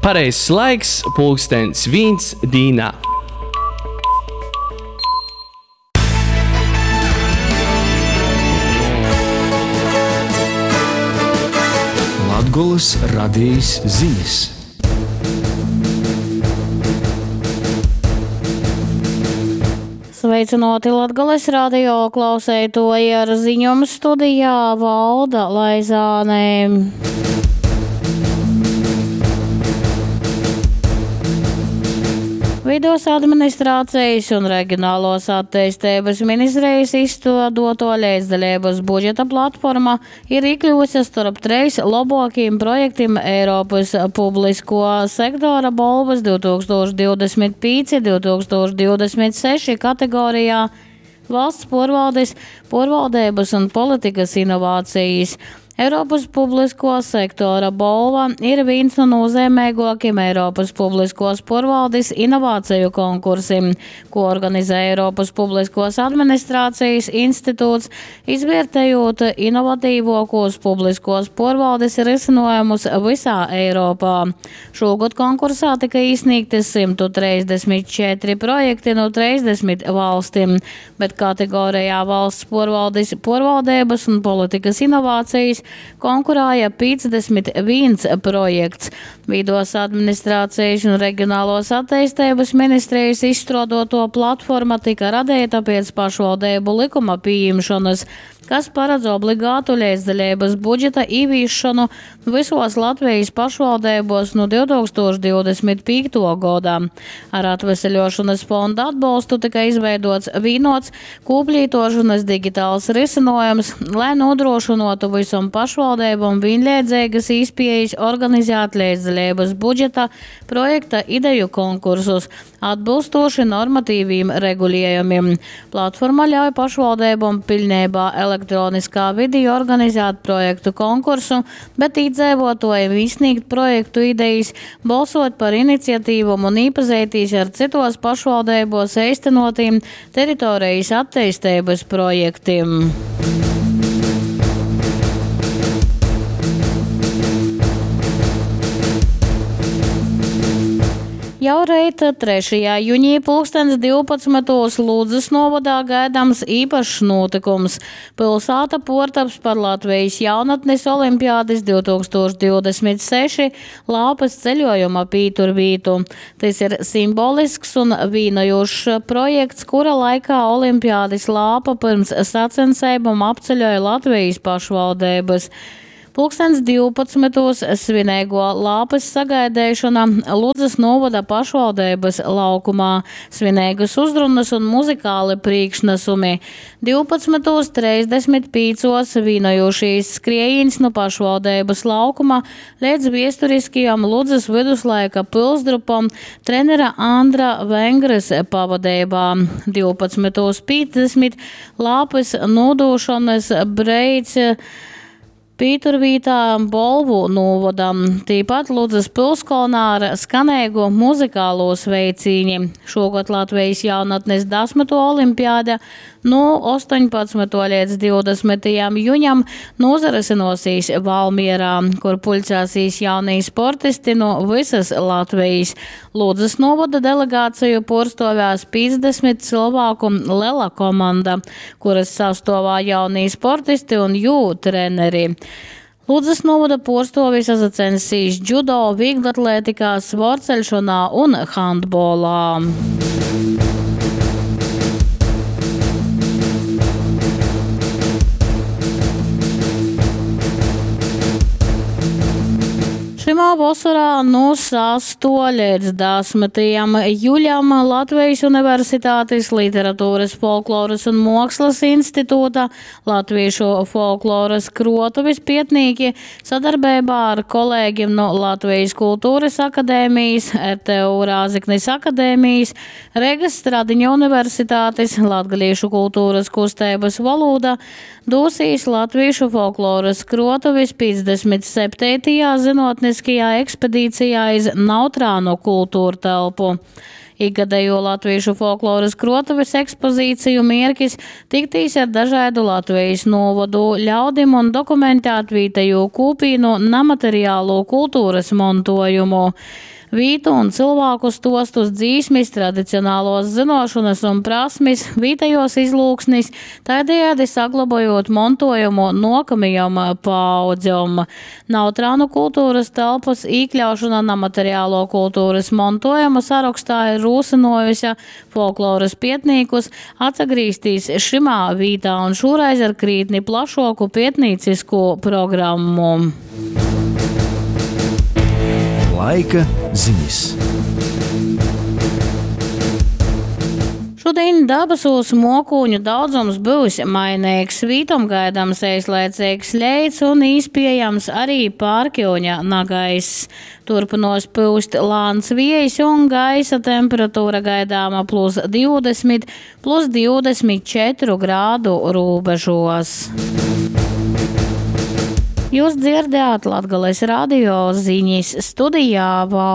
Pareizs laiks pulkstens vīns dīnā. Latgolys radejis zinis. Sveicynuoti Latgales radio klauseituoji ar ziņom studijā Valda Laizāne. Vidos administrācijas un regionālos atteisteibas ministrijas izstuodoto leidzdaļības budžeta platforma ir iekļuvusi starp treis labākajiem projektiem Eiropas publisko sektora bolvas 2025-2026 kategorijā Valsts porvaldes, porvaldības un politikas inovācijas. Eiropas publisko sektora bolva ir viens no nozīmīgākajiem Eiropas publiskos porvaldes inovāciju konkursiem, ko organizē Eiropas publiskos administrācijas institūts, izvērtējot inovatīvākos publiskos porvaldes risinājumus visā Eiropā. Šogad konkursā tika izsniegti 134 projekti no 30 valstīm, bet kategorijā valsts porvaldes, porvaldības un politikas inovācijas konkurēja 51 projekts. Vidos administrācijas un reģionālos attīstības ministrijas izstrādoto platforma tika radīta pēc pašvaldību likuma pieņemšanas, kas paredz obligātu līdzdalības budžeta ieviešanu visos Latvijas pašvaldībos no 2025. gada. Ar atveseļošanas fonda atbalstu tika izveidots vienots kūplītošanas digitāls risinājums, lai nodrošinātu visam pašvaldībām vienlīdzīgas iespējas organizēt līdzdalības budžeta projekta ideju konkursus atbilstoši normatīviem regulējumiem. Platforma ļauj pašvaldībām pilnībā elektroniskā vidī organizēt projektu konkursu, bet iedzīvotājiem izsniegt projektu idejas, balsot par iniciatīvām un iepazīties ar citos pašvaldībos īstenotiem teritorijas attīstības projektiem. Jau reit 3. jūnijā pulkstens 12. Ludzas novadā gaidāms īpašs notikums. Pilsēta portaps par Latvijas jaunatnes olimpiādes 2026 lāpas ceļojuma pīturvītu. Tas ir simbolisks un vīnojošs projekts, kura laikā olimpiādes lāpa pirms sacensībām apceļoja Latvijas pašvaldības. Pulkstens 12. svinīgo lāpas sagaidīšana Ludzas novada pašvaldības laukumā, svinīgas uzrunas un muzikāli priekšnesumi. 12.35. vīnojošīs skriejīns no pašvaldības laukuma līdz viesturiskajam Ludzas viduslaika pilsdrupam trenera Andra Vengres pavadībā. 12.50 lāpas nodošanas breids Pīturvītā Bolvu novadam, tīpat Ludzas pilskolnā ar skanīgu muzikālo sveicīņi. Šogad Latvijas jaunatnes 10. olimpiāde no 18. līdz 20. juņam nozarisinosīs Valmierā, kur pulcēsīs jaunie sportisti no visas Latvijas. Ludzas novada delegāciju porstovēs 50 cilvēku lela komanda, kuras sastovā jaunie sportisti un jū treneri. Ludzas novada porstovi sasacensīs džudo, vieglatlētikā, svorceļšanā un handbolā. Šimā vasarā no 6. līdz 10. juļam Latvijas Universitātes Literatūras, folkloras un mākslas institūta Latviešu folkloras krotuvis pietnīki sadarbībā ar kolēģiem no Latvijas Kultūras akadēmijas, RTU Rāzeknis akadēmijas, Regas Stradiņa Universitātes, Latgaliešu kultūras kustības valoda dosīs Latviešu folkloras krotuvis 57. zinātniskajā ekspedīcijā iz Nautrānu kultūrtelpu. Ikgadējo Latvīšu folklorys kruotuvis ekspozīciju mierkis tiktīs ar dažaidu Latvejis nūvodu ļaudim un dokumentēt vītejū kūpīnu namaterialū kulturys montuojumu. Vītu un cylvāku stuostus, dzīsmis, tradicionāluos zynuošonys un prasmis, vītejuos izlūksnis, tādējādi saglobojot montuojumu nuokamajom paaudzem. Nautrānu kulturys telpys īkļaušona namaterialuo kulturys montuojuma sarokstā ir rūsynuojuse folklorys pietnīkus atsagrīztīs šymā vītā un šūreiz ar krītni plašuoku pietnīcisku programmu. Laika zinis. Šudiņ dabasūs muokūņu daudzums byus maineigs. Vītom gaidams eislaiceigs leits un īspiejams arī pārkiuņa nagaiss. Turpynuos pyust lāns viejs un gaisa temperatūra gaidāma plus 20, plus 24 grādu rūbežos. Jūs dzirdējāt Latgales radio ziņas studijā Valda.